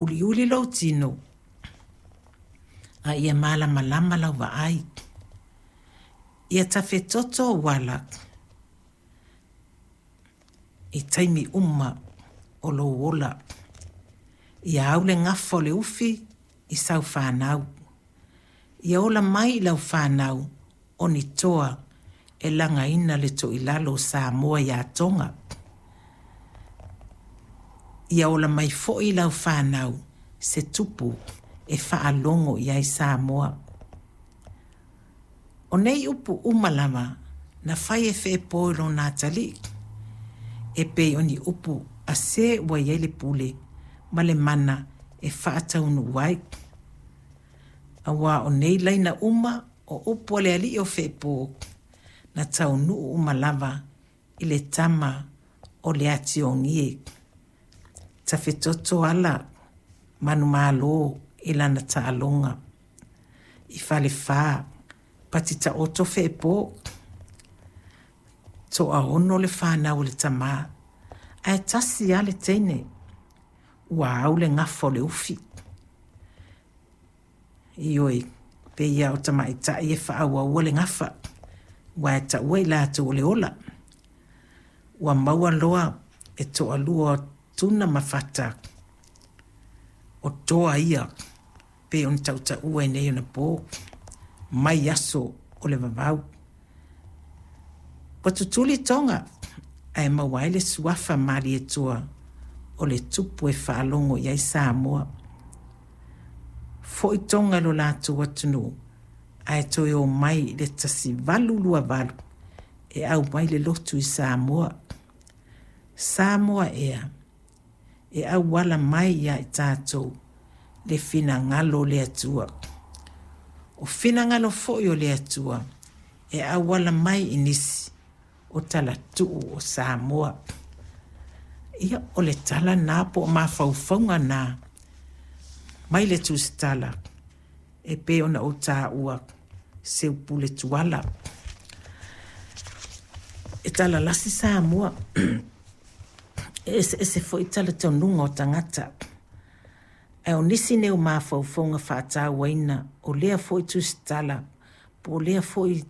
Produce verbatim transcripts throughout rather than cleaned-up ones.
Uliuli lou tino a ia malamalama lau vaai. Ia tafetoto ou ala i taimi uma o lou ola. Ia au le gafa o le ufi i sau fanau. Ia ola mai i lau fanau o ni toa e lagaina le toilalo o Samoa ia Toga. Ia ola mai foi i lau fanau se tupu e faalogo i ai Samoa. O nei upu uma lava na fai e Feepo i lona atalii, e pei o ni upu a se ua i ai le pule ma le mana e faataunuu ai. Auā o nei laina uma o upu a le alii o Feepo na taunuu uma lava i le tama o le Atiogie. Tafetoto ala manumalo i lana taaloga. I Falefa, pati taoto Feepo. Toaono le fanau a le tamā, ae tasi lava le teine. Ua au le gafa o le ufi. Ioe, pei lava o tamaitai e faaauaua le gafa, aua e taua i latou o le ola. Ua maua loa e toalua o Tuna ma Fata, o toa ia pei ona tautaua i nei ona po, mai aso o le vavau. Ua tutuli Toga ae maua ai le suafa Malietoa o le tupu e faalogo i ai Samoa. Foi Toga i lo latou atunuu ae toe o mai i le tasi valu lua valu e aumai le lotu i Samoa. Samoa ea, e auala mai ia i tatou le finagalo o le Atua. O finagalo foi o le Atua e auala mai i nisi o talatuu o Samoa. Ia, o le tala lena po o mafaufauga na mai le Tusitala e pei ona ou taua Seupule Tuala. E talalasi Samoa, e eseese foi talitonuga o tagata. Ae o nisi nei o mafaufauga faatauaina o lea foi tusitala po o lea foi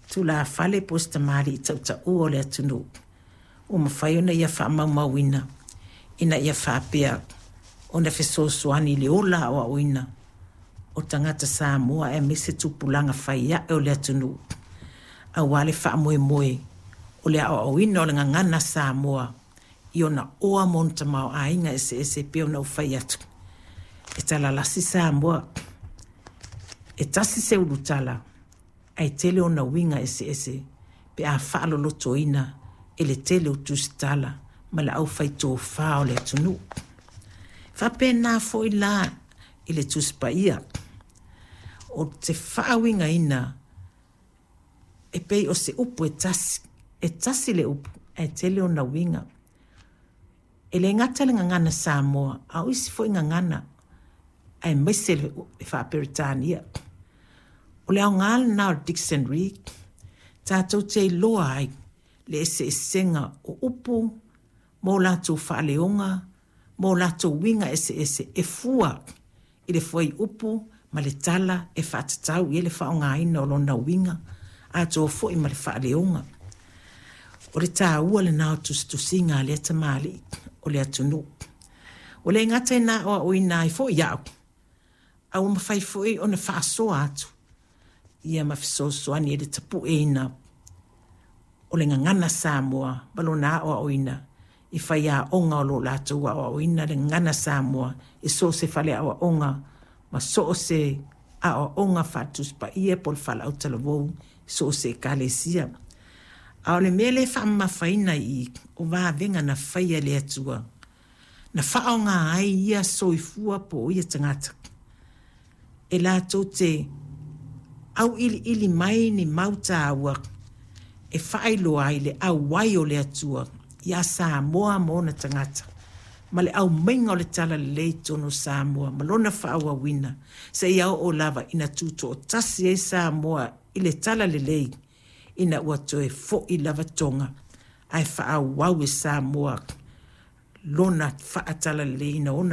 tulafale po o se tamalii tautaua o le atunuu ua mafai ona ia faamaumauina ina ia faapea ona fesoasoani i le ola aoaoina o tagata Samoa aemaise tupulaga fai ae o le atunuu aua le faamoemoe o le aoaoina o le gagana Samoa i ona oa ma ona tamaoaiga eseese e pei ona ou fai atu. E talalasi Samoa, e tasi se ulutala ae tele ona uiga eseese pe a faalolotoina e le tele o tusitala ma le aufaitofa o le atunuu. E faapena foi la i le Tusi Paia, o te faauigaina e pei o se upu e tasi, e tasi le upu ae tele ona uiga. E le gata le gagana Samoa, a o isi foi gagana aemaise le Faa-Peretania. O le aoga lena o le dictionary, tatou te iloa ai le eseesega o upu ma o latou faaleoga ma o latou uiga eseese e fua i le fuaiupu ma le tala e faatatau i ai le faaaogaina o lona uiga atoa foi ma le faaleoga. O le taua lena o tusitusiga a lea tamalii o le atunuu. Ua le gata ina aoaoina ai foi au, a ua mafai foi ona faasoa atu ia ma fesoasoani i le tapueina o le gagana Samoa ma lona aoaoina i faiaoga o lo o latou aoaoina le gagana Samoa i so o se faleaoaoga ma so o se aoaoga faale-Tusi Paia po o le faalautalavou i so o se ekalesia. A o le mea lea e faamamafaina i i, o vavega na faia e le Atua, na faaaoga ai ia soifua po o ia tagata e latou te auiliili mai ni mau taua e faailoa ai le auai o le Atua ia Samoa ma ona tagata ma le aumaiga o le talalelei i totonu o Samoa ma lona faaauauina seia oo lava ina tutoatasi ai Samoa i le talalelei ina ua toe foi lava Toga ae faaauau e Samoa lona faatalaleleina o ona